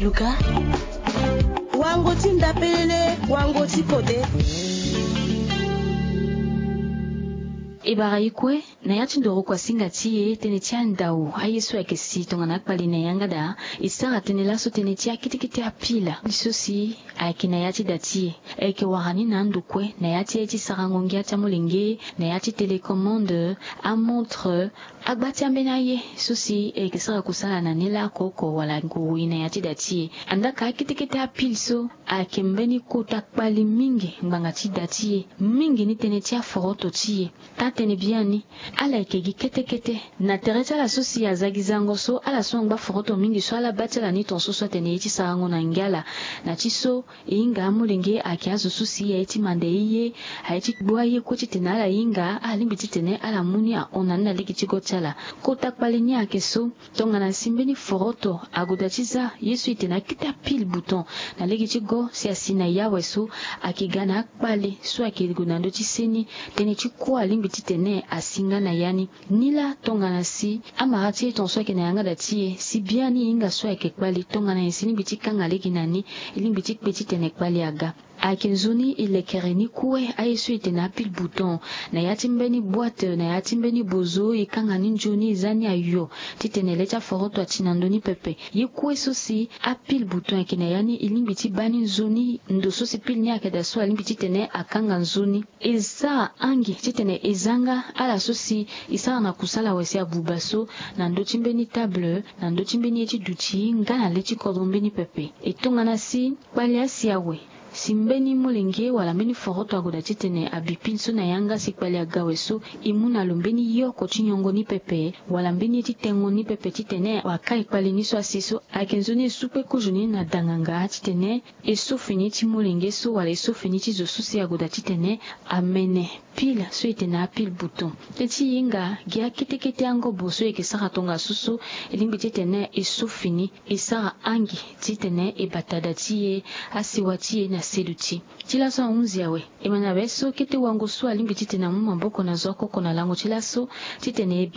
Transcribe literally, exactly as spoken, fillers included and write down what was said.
Luka. Wango ti nda pelele, wango ti kode. E bara e kue na ya ti ndoro kuasinga ti e tënë ti andau aye so ayeke si tongana akpali na yanga daa. E sara tënë laso tënë ti akete kete apila so si ayeke na ya ti da ti e. Ayeke wara ni na ando kue na ya ti aye ti sarango ngia ti amolenge, na ya ti télécommande, amontre, agba ti ambeni aye so si e yeke sara kusala na ni laa kooko wala nguru e na ya ti da ti e. Andaa ka akete kete apile so ayeke mbeni kota kpali mingi ngbanga ti da ti e, mingi ni tënë ti aforoto ti e. Taa-tënë biani, ala yeke gi kete kete. Na tere ti ala so si aza gi zango so, ala so angba foroto mingi so ala baa ti ala ni tongaso so atene ye ti sarango na ngia ala. Na ti so, e hinga amolenge ayeke azo so si aye ti manda e ye, aye ti gbu aye kue titene ala hinga, alingbi titene ala mu ni ahon na ni na lege ti go ti ala. Kota kpali ni ayeke so, tongana si mbeni foroto ague daa ti za ye so e tene akete apile bouton na lege ti go si asi na ya awe so, ayeke ga na akpali so ayeke gue na ndö ti seni, tënë ti kuâ alingbi titene asi nga na ya ni. Nilaa tongana si amara ti e tongaso ayeke na yanga da ti e, si biani e hinga so ayeke kpali, tongana nyen si e lingbi ti kanga lege na ni? E lingbi ti kpe titene kpali aga. Ayeke nzoni e lekere ni kue aye so e tene apile bouton na ya ti mbeni boîte, na ya ti mbeni bozo, e kanga ni nzoni, e za ni ayo titene le ti aforoto ati na ndö ni pepe. Ye kue so si apile bouton ayeke na ya ni, e lingbi ti baa ni nzoni, ndo so si pile ni ayeke daa so alingbi titene akanga nzoni. E sara angi titene e za nga ala so si e sara na kusala awe si abuba so na ndö ti mbeni table, na ndö ti mbeni ye ti duti nga na le ti kodro mbeni pepe. E tongana si kpali asi awe, si mbeni molenge wala mbeni foroto ague daa titene abi pile so na yanga si kpali aga awe so, e mu na lo mbeni yoko ti nyongo ni pepe wala mbeni ye ti tengo ni pepe titene akai kpali ni so asi so. Ayeke nzoni e su kue kozo ni na danganga titene e so fini ti molenge so wala e so fini ti zo so si ague daa titene amene pile so e tene apile bouton. Tënë ti e hinga gi akete kete angobo so e yeke sara tongaso so, e lingbi titene e so fini, e sara angi titene e bata da ti e, asewa ti e na seduti. Ti laso ahunzi awe, e ma na be so kete wango so alingbi titene amu maboko na zo akoko na lango ti laso titene e